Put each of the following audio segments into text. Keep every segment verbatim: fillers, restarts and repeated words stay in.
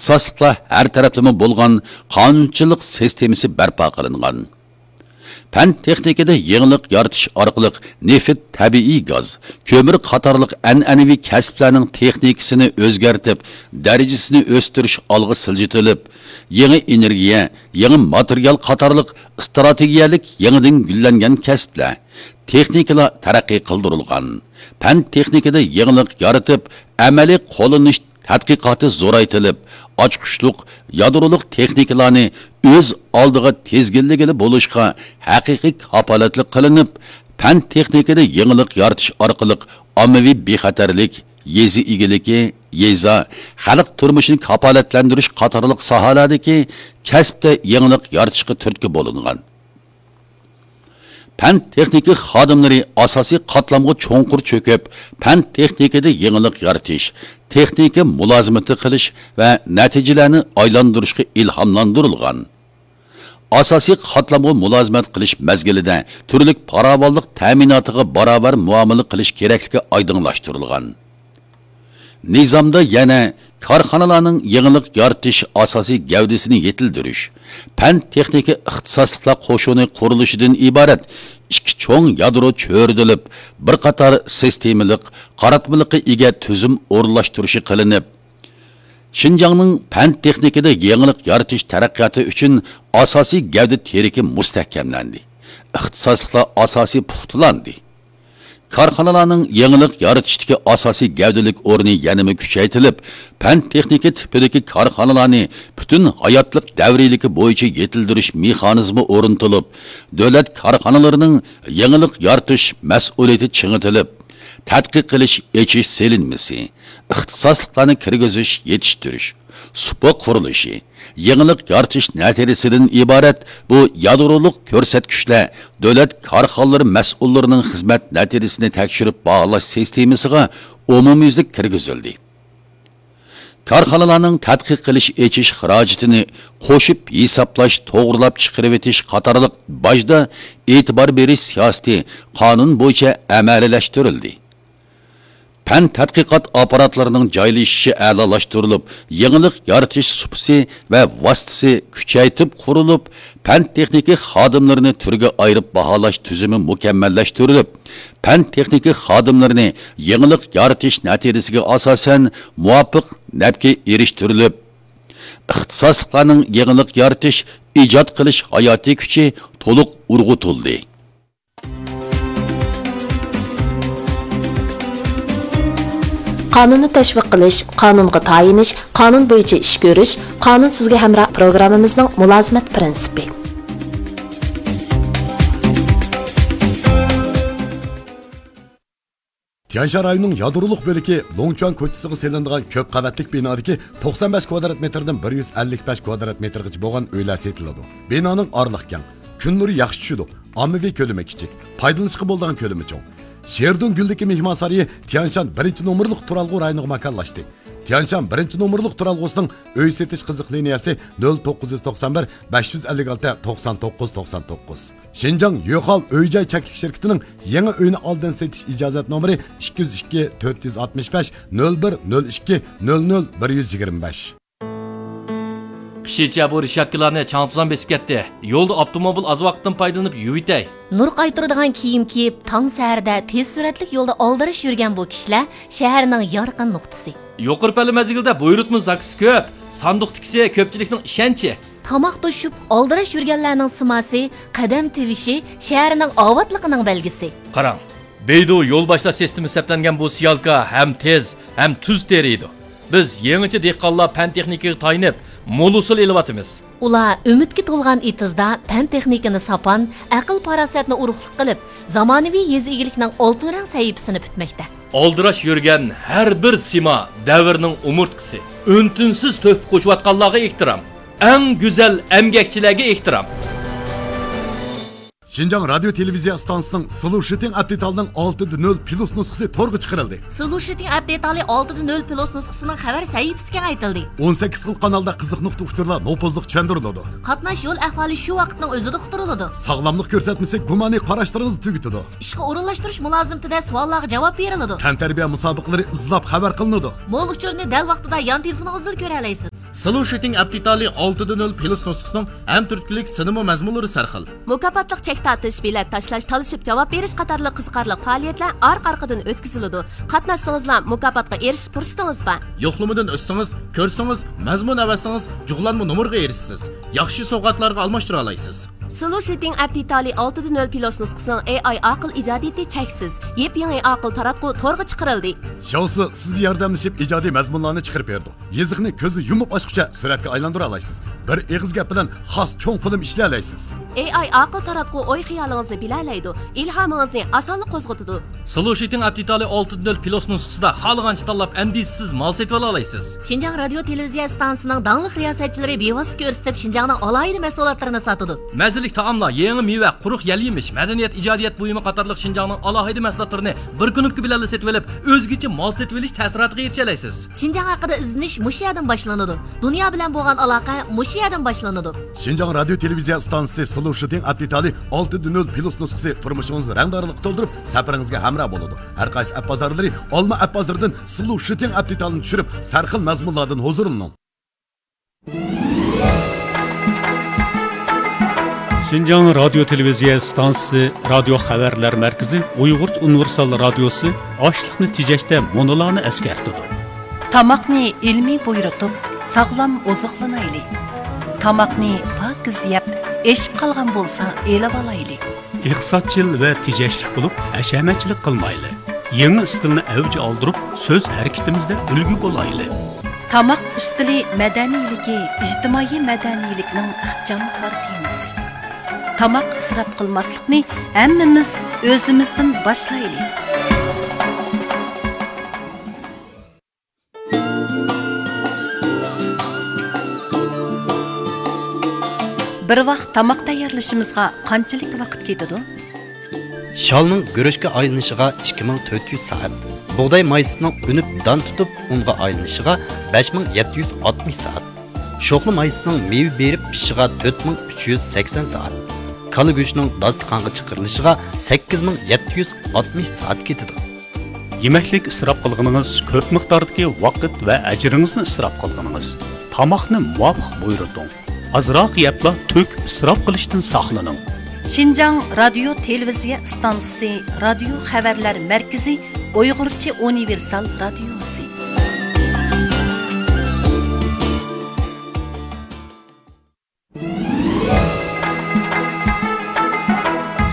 ئىختىساسلىقلار ھەر تەرەپلىمە بولغان قانۇنچىلىق سىستېمىسى بەرپا قىلىنغان. پەن تېخنىكىدا يېڭىلىق يارىتىش ئارقىلىق نېفىت، تەبىئىي گاز، كۆمۈر قاتارلىق ئەنئەنىۋى كەسىپلەرنىڭ تېخنىكىسىنى ئۆزگەرتىپ، دەرىجىسىنى ئۆستۈرۈش ئالغا سىلجىتىلىپ، يېڭى ئېنېرگىيە، يېڭى ماتېرىيال قاتارلىق ئىستراتېگىيەلىك يېڭىدىن گۈللەنگەن كەسىپلەر، تېخنىكىلار تەرەققىي قىلدۇرۇلغان. پەن تېخنىكىدا يېڭىلىق يارىتىپ، ئەمەلىي قوللىنىش تەتقىقاتى زورايتىلىپ، ئاچقۇچلۇق يادرولۇق تېخنىكىلارنى ئۆز ئالدىغا تىزگىنلىگىلى بولۇشقا ھەقىقىي كاپالەتلىك قىلىنىپ، پەن تېخنىكىدا يېڭىلىق يارىتىش ئارقىلىق ئاممىۋى بىخەتەرلىك، يېزا ئىگىلىكى، يېزا، خەلق تۇرمۇشىنى كاپالەتلەندۈرۈش قاتارلىق ساھەلەردىكى كەسىپتە يېڭىلىق يارىتىشقا تۈرتكە بولۇنغان. پەن تېخنىكا خادىملىرى ئاساسىي قاتلامغا چوڭقۇر چۆكۈپ، پەن تېخنىكىدا يېڭىلىق يارىتىش، تېخنىكا مۇلازىمىتى قىلىش ۋە نەتىجىلەرنى ئايلاندۇرۇشقا ئىلھاملاندۇرۇلغان. ئاساسىي قاتلامغا مۇلازىمەت قىلىش مەزگىلىدە تۈرلۈك پاراۋانلىق تەمىناتىغا باراۋەر مۇئامىلە قىلىش كېرەكلىكى ئايدىڭلاشتۇرۇلغان. نىزامدا يەنە كارخانىلارنىڭ يېڭىلىق يارىتىش ئاساسىي گەۋدىسىنى يېتىلدۈرۈش، پەن تېخنىكا ئىختىساسلىقلار قوشۇنى قۇرۇلۇشىدىن ئىبارەت ئىككى چوڭ يادرو چۆرىدىلىپ، بىر قاتار سىستېمىلىق، قاراتمىلىققا ئىگە تۈزۈم ئورۇنلاشتۇرۇشى قىلىنىپ، شىنجاڭنىڭ پەن تېخنىكىدا يېڭىلىق يارىتىش تەرەققىياتى ئۈچۈن ئاساسىي گەۋدە تىرىكى مۇستەھكەملەندى، ئىختىساسلىقلار ئاساسى پۇختىلاندى. كارخانىلارنىڭ يېڭىلىق يارىتىشتىكى ئاساسىي گەۋدىلىك ئورنى يەنىمۇ كۈچەيتىلىپ، پەن تېخنىكا تىپىدىكى كارخانىلارنى پۈتۈن ھاياتلىق دەۋرىيلىكى بويىچە يېتىلدۈرۈش مېخانىزمى ئورنىتىلىپ، دۆلەت كارخانىلىرىنىڭ يېڭىلىق يارىتىش مەسئۇلىيىتى چىڭىتىلىپ، تەتقىق قىلىش، ئېچىش سېلىنمىسى، ئىختىساسلىقلارنى كىرگۈزۈش، يېتىشتۈرۈش، سۇپا قۇرۇلۇشى، يېڭىلىق يارىتىش نەتىجىسىدىن ئىبارەت بۇ يادرولۇق كۆرسەتكۈچلەر دۆلەت كارخانىلىرى مەسئۇللىرىنىڭ خىزمەت نەتىجىسىنى تەكشۈرۈپ باھالاش سىستېمىسىغا ئومۇميۈزلۈك كىرگۈزۈلدى. كارخانىلارنىڭ تەتقىق قىلىش ئېچىش خىراجىتىنى قوشۇپ ھېسابلاش، توغرىلاپ چىقىرىۋېتىش قاتارلىق باجدا ئېتىبار بېرىش سىياسىتى قانۇن بويىچە ئەمەلىيلەشتۈرۈلدى. پەن تەتقىقات ئاپپاراتلىرىنىڭ جايلىشىشى ئەلالاشتۇرۇلۇپ، يېڭىلىق يارىتىش سۇپىسى ۋە ۋاسىتىسى كۈچەيتىپ قۇرۇلۇپ، پەن تېخنىكا خادىملىرىنى تۈرگە ئايرىپ باھالاش تۈزۈمى مۇكەممەللەشتۈرۈلۈپ، پەن تېخنىكا خادىملىرىنى يېڭىلىق يارىتىش نەتىجىسىگە ئاساسەن مۇۋاپىق نەپكە ئېرىشتۈرۈلۈپ، ئىختىساسلىقلارنىڭ يېڭىلىق يارىتىش، ئىجاد قىلىش ھاياتىي كۈچى تولۇق ئۇرغۇتۇلدى. قانۇننى تەشۋىق قىلىش، قانۇنغا تايىنىش، قانۇن بويىچە ئىش كۆرۈش، قانۇن سىزگە ھەمراھ پروگراممىمىزنىڭ مۇلازىمەت پىرىنسىپى. تيەنشان رايونىنىڭ يادرولۇق بۆلىكى لوڭچۈەن كوچىسىغا سېلىنىدىغان كۆپ قەۋەتلىك بىنادىكى توقسان بەش كۋادرات مېتىردىن بىر يۈز ئەللىك بەش كۋادرات مېتىرغىچە بولغان ئۆيلەر سېتىلىدۇ. بىنانىڭ ئارىلىقى كەڭ، كۈن نۇرى ياخشى چۈشىدۇ، ئاممىۋى كۆلىمى كىچىك، پايدىلىنىشقا بولىدىغان كۆلىمى چوڭ. شېردۇڭ گۈلدىكى مېھمانسارىيى تيەنشان بىرىنچى نومۇرلۇق تۇرالغۇ رايونىغا ماكانلاشتى. تيەنشان بىرىنچى نومۇرلۇق تۇرالغۇسىنىڭ ئۆي سېتىش قىزىق لىنىيەسى نۆل توققۇز يۈز توقسان بىر، بەش يۈز ئەللىك ئالتە، توقسان توققۇز، توقسان توققۇز. شىنجاڭ يۆخاۋ ئۆي جاي چەكلىك شىركىتىنىڭ يېڭى ئۆينى ئالدىن سېتىش ئىجازەت نومۇرى ئىككى يۈز ئىككى، تۆت يۈز ئاتمىش بەش، نۆل بىر، نۆل ئىككى، نۆل نۆل، بىر يۈز يىگىرمە بەش. قىشىچە بۇ رېشاتكىلارنى چاڭ-توزان بېسىپ كەتتى. يولدا ئاپتوموبىل ئاز ۋاقىتتىن پايدىلىنىپ يۇيۇۋېتەي. نۇر قايتۇرىدىغان كىيىم كىيىپ، تاڭ سەھەردە تېز سۈرئەتلىك يولدا ئالدىراش يۈرگەن بۇ كىشىلەر شەھەرنىڭ يارقىن نۇقتىسى. يۇقىرى پەللە مەزگىلدە بۇيرۇتما زاكىسى كۆپ، ساندۇقتىكىسى كۆپچىلىكنىڭ ئىشەنچى. تاماق توشۇپ، ئالدىراش يۈرگەنلەرنىڭ سىماسى، قەدەم تىۋىشى شەھەرنىڭ ئاۋاتلىقىنىڭ بەلگىسى. قاراڭ، بەيدۇ يول باشلاش سىستېمىسى سەپلەنگەن بۇ سىيالكا ھەم تېز، ھەم تۈز تېرىيدۇ. بىز يېڭىچە دېھقانلار پەن تېخنىكىغا تايىنىپ، مول ھوسۇل ئېلىۋاتىمىز. ئۇلار ئۈمىدكە تولغان ئېتىزدا پەن تېخنىكىنى ساپان، ئەقىل پاراسەتنى ئۇرۇقلۇق قىلىپ، زامانىۋى يېزا ئىگىلىكنىڭ ئالتۇن رەڭ سەھىپىسىنى پۈتمەكتە. ئالدىراش يۈرگەن ھەر بىر سىما دەۋرنىڭ ئومۇرتقىسى. ئۈن-تىنسىز تۆھپە قوشۇۋاتقانلارغا ئېھتىرام. ئەڭ گۈزەل ئەمگەكچىلەرگە ئېھتىرام. شىنجاڭ رادىيو تېلېۋىزىيە ئىستانسىسىنىڭ سلۇشىتىڭ ئەپ دېتالىنىڭ ئالتە دە نۆل پلۇس نۇسخىسى تورغا چىقىرىلدى. سلۇشىتىڭ ئەپ دېتالى ئالتە دە نۆل پلۇس نۇسخىسىنىڭ خەۋەر سەھىپىسى كېڭەيتىلدى. ئون سەككىز خىل قانالدا قىزىق نۇقتا ئۇچۇرلار نوپۇزلۇق چۈشەندۈرۈلىدۇ. قاتناش يول ئەھۋالى شۇ ۋاقىتنىڭ ئۆزىدە ئۇقتۇرۇلىدۇ. ساغلاملىق كۆرسەتمىسى گۇمانىي قاراشلىرىڭىزنى تۈگىتىدۇ. ئىشقا ئورۇنلاشتۇرۇش مۇلازىمىتىدە سوئاللارغا جاۋاب بېرىلىدۇ. تەنتەربىيە مۇسابىقىلىرى ئىزلاپ خەۋەر قىلىنىدۇ. مول ئۇچۇرنى دەل ۋاقتىدا يان تېلېفونىڭىزدىلا كۆرەلەيسىز. سلوشىتىڭ ئەپ دېتالى ئالتە دە نۆل پلۇس نۇسخىسىنىڭ ھەم تۈرتكىلىك سىنىمۇ مەزمۇنلىرى سەرخىل. مۇكاپاتلىق چەك تارتىش، بېلەت تاشلاش، تالىشىپ جاۋاب بېرىش قاتارلىق قىزىقارلىق پائالىيەتلەر ئارقا-ئارقىدىن ئۆتكۈزۈلىدۇ. قاتناشسىڭىزلا مۇكاپاتقا ئېرىشىش پۇرسىتىڭىز بار. يوقلىمىدىن ئۆتسىڭىز، كۆرسىڭىز، مەزمۇن ئەۋەتسىڭىز، جۇغلانما نومۇرغا ئېرىشىسىز. ياخشى سوۋغاتلارغا ئالماشتۇرالايسىز. سلوشىتىڭ ئەپ دېتالى ئالتە دە نۆل پلۇس نۇسخىسىنىڭ ئېي ئاي ئاقىل ئىجادىيىتى چەكسىز. يېپيېڭى ئاقىل تاراتقۇ تورغا چىقىرىلدى. شياۋسى سىزگە ياردەملىشىپ ئىجادىي مەزمۇنلارنى چىقىرىپ بېرىدۇ. يېزىقنى كۆزى يۇمۇپ ئاچقۇچە سۈرەتكە ئايلاندۇرالايسىز. بىر ئېغىز گەپ بىلەن خاس چوڭ فىلىم ئىشلىيەلەيسىز. ئېي ئاي ئاقىل تاراتقۇ ئوي-خىيالىڭىزنى بىلەلەيدۇ، ئىلھامىڭىزنى ئاسانلا قوزغىتىدۇ. سلوشىتىڭ ئەپ دېتالى ئالتە دە نۆل پلۇس نۇسخىسىدا خالىغانچە تاللاپ ئەندىشىسىز مال سېتىۋالالايسىز. شىنجاڭ رادىيو تېلېۋىزىيە ئىستانسىسىنىڭ داڭلىق رىياسەتچىلىرى بىۋاسىتە كۆرسىتىپ شىنجاڭنىڭ ئالاھىدە مەھسۇلاتلىرىنى ساتىدۇ. مەززىلىك تائاملار، يېڭى مېۋە، قۇرۇق يەل يېمىش، مەدەنىيەت، ئىجادىيەت بۇيۇمى قاتارلىق شىنجاڭنىڭ ئالاھىدە مەھسۇلاتلىرىنى بىر كۇنۇپكا بىلەنلا سېتىۋېلىپ، ئۆزگىچە مال سېتىۋېلىش تەسىراتىغا ئېرىشەلەيسىز. شىنجاڭ ھەققىدە ئىزدىنىش مۇشۇ يەردىن باشلىنىدۇ. دۇنيا بىلەن بولغان ئالاقە مۇشۇ يەردىن باشلىنىدۇ. شىنجاڭ رادىيو تېلېۋىزىيە ئىستانسىسى سلوشىتىڭ ئەپ دېتالى ئالتە دە نۆل پلۇس نۇسخىسى تۇرمۇشىڭىزنى رەڭدارلىققا تولدۇرۇپ، سەپىرىڭىزگە ھەمراھ بولىدۇ. ھەر قايسى ئەپ بازارلىرى ئالما ئەپ بازىرىدىن سلوشىتىڭ ئەپ دېتالىنى چۈشۈرۈپ، سەرخىل مەزمۇنلاردىن ھۇزۇرلىنىڭ. شىنجاڭ رادىيو تېلېۋىزىيە ئىستانسىسى رادىيو خەۋەرلەر مەركىزى ئۇيغۇرچە ئۇنىۋېرسال رادىيوسى ئاشلىقنى تېجەشتە مۇنۇلارنى ئەسكەرتىدۇ. تاماقنى ئىلمىي بۇيرۇتۇپ، ساغلام ئوزۇقلىنايلى. تاماقنى پاكىز يەپ، ئېشىپ قالغان بولسا ئېلىۋالايلى. ئىقتىسادچىل ۋە تېجەشلىك بولۇپ، ھەشەمەتچىلىك قىلمايلى. يېڭى ئىستىلنى ئەۋج ئالدۇرۇپ، سۆز ھەرىكىتىمىزدە ئۈلگە بولايلى. تاماق ئۈستىلى مەدەنىيلىكى ئىجتىمائىي مەدەنىيلىكنىڭ ئىخچام كارتىنىسى. تاماق ئىسراپ قىلماسلىقنى ھەممىمىز ئۆزىمىزدىن باشلايلى. بىر ۋاق تاماق تەييارلىشىمىزغا قانچىلىك ۋاقىت كېتىدۇ؟ شالنىڭ گۈرۈچكە ئايلىنىشىغا ئىككى مىڭ تۆت يۈز سائەت، بۇغداي مايسىسىنىڭ ئۈنۈپ دان تۇتۇپ ئۇنغا ئايلىنىشىغا بەش مىڭ يەتتە يۈز ئاتمىش سائەت، شوخلا مايسىسىنىڭ مېۋە بېرىپ پىشىشىغا تۆت مىڭ ئۈچ يۈز سەكسەن سائەت، كالا گۆشىنىڭ داستىخانغا چىقىرىلىشىغا سەككىز مىڭ يەتتە يۈز ئاتمىش سائەت كېتىدۇ. يېمەكلىك ئىسراپ قىلغىنىڭىز كۆپ مىقداردىكى ۋاقىت ۋە ئەجرىڭىزنى ئىسراپ قىلغىنىڭىز. تاماقنى مۇۋاپىق بۇيرۇتۇڭ. ئازراق يەپلا تۆك ئىسراپ قىلىشتىن ساقلىنىڭ. شىنجاڭ رادىيو تېلېۋىزىيە ئىستانسىسى رادىيو خەۋەرلەر مەركىزى ئۇيغۇرچە ئۇنىۋېرسال رادىيوسى.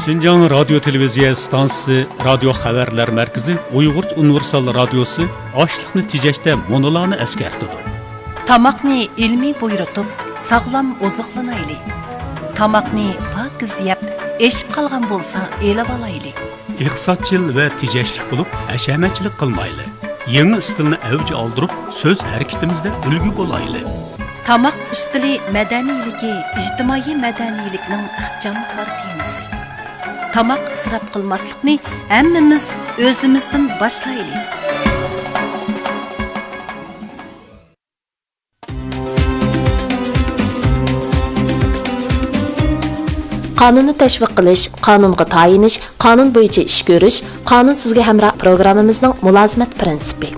شىنجاڭ رادىيو تېلېۋىزىيە ئىستانسىسى رادىيو خەۋەرلەر مەركىزى ئۇيغۇرچە ئۇنىۋېرسال رادىيوسى ئاشلىقنى تېجەشتە مۇنۇلارنى ئەسكەرتىدۇ. تاماقنى ئىلمىي بۇيرۇتۇپ، ساغلام ئوزۇقلىنايلى. تاماقنى پاكىز يەپ، ئېشىپ قالغان بولسا ئېلىۋالايلى. ئىقتىسادچىل ۋە تېجەشلىك بولۇپ، ھەشەمەتچىلىك قىلمايلى. يېڭى ئىستىلنى ئەۋج ئالدۇرۇپ، سۆز ھەرىكىتىمىزدە ئۈلگە بولايلى. تاماق ئۈستىلى مەدەنىيلىكى ئىجتىمائىي مەدەنىيلىكنىڭ ئىخچام كارتىنىسى. تاماق ئىسراپ قىلماسلىقنى ھەممىمىز ئۆزىمىزدىن باشلايلى. قانۇننى تەشۋىق قىلىش، قانۇنغا تايىنىش، قانۇن بويىچە ئىش كۆرۈش، قانۇن سىزگە ھەمراھ پروگراممىمىزنىڭ مۇلازىمەت پىرىنسىپى.